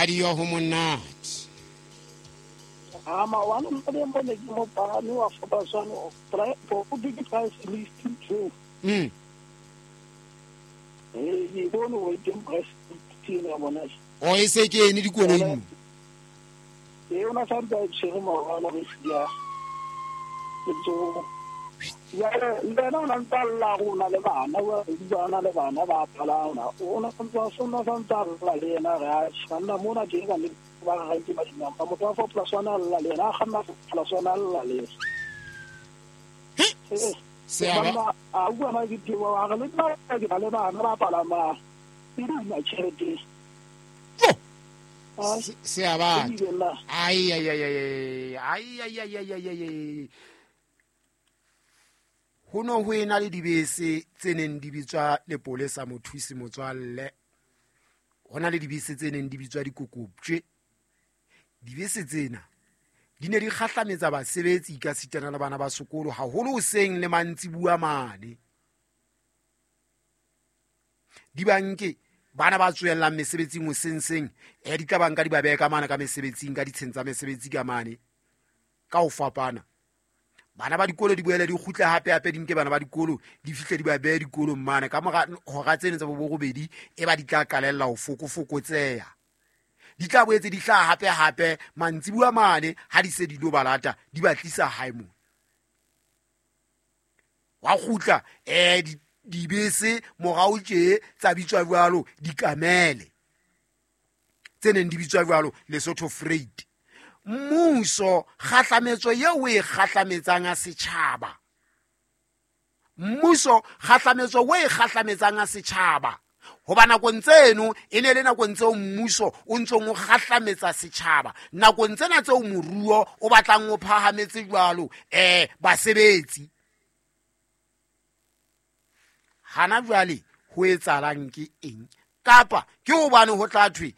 Radio ho monate. Ama wa no mpe mo ne ke mo pagame wa fapaswane o ke price list too. Ee, ke bone o teng price list ya bona. O e se ke ene dikoloi mo. Ee, o na sa ntse a tshwere morwalo re sia. So ya le na o na ntse a lla rona le bana, wa bana le bana ba palama. O na ntse a sona sa ntse a lla le yena re a tshwanna mona teng ka le ba ga ke ba dinampa motho wa 4+1 a lla le yena a kganna 4+1 a lla le yena. Se a ba a bua ma ke teng wa re le nna ke ba le bana ba palama e duma tjhelete. Se a ba. Ai ai ai ai ai ai ai ai ai ai. Ho no ho ena le dibese tse neng di bitswa lepolesa mothusi motswalle. Ho na le dibese tse neng di bitswa dikokoptjwe. Dibese tsena di ne di kgahlametsa basebetsi ka sitana le bana ba sekolo haholo hoseng le mantsibuya mane. Di banke bana ba tswellang mesebetsing hoseng seng, di tla banka di ba behe ka mane ka mesebetsing, ka ditsheng tsa mesebetsi ka mane ka ho fapana. Bana ba dikolo di boele di kgutle hape hape di nke bana ba dikolo di fihle di ba behe dikolong mane ka mora hora tsene tsa borobedi e ba di tla qalella ho fokofokotseha. Di tla boetse di hlaha hape hape mantsibuya mane ha di se di lo balata di ba tlisa hae mona. Wa kgutla dibese morao tje tsa bitswa jwalo dikamele tse neng di bitswa jwalo Lesotho Freight. Mmuso kgahlametso eo o e kgahlametsang a setjhaba, mmuso kgahlametso o e kgahlametsang a setjhaba, hoba nakong tseno e ne le nakong tseo mmuso o ntsong o kgahlametsa setjhaba, nakong tsena tseo moruo o batlang o phahametse jwalo basebetsi. Hana jwale ho etsahalang ke eng? Kapa ke hobane ho tla thwe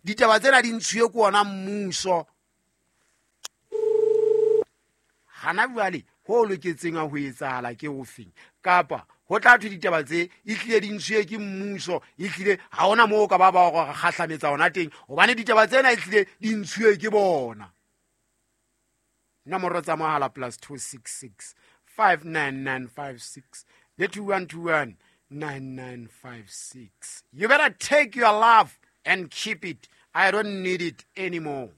ditaba tsena di ntshuwe ke ona mmuso. Hana jwale ho loketseng ho etsahala ke hofeng? Kapa ho tla thwe ditaba tse e hlile di ntshuwe ke mmuso, e hlile ha hona moo ka ba ba hore kgahlametsa hona teng, hobane ditaba tsena e hlile di ntshuwe ke bona. Nomoro tsa mohala +266 59956 le 2121 9956. You better take your love and keep it. I don't need it anymore.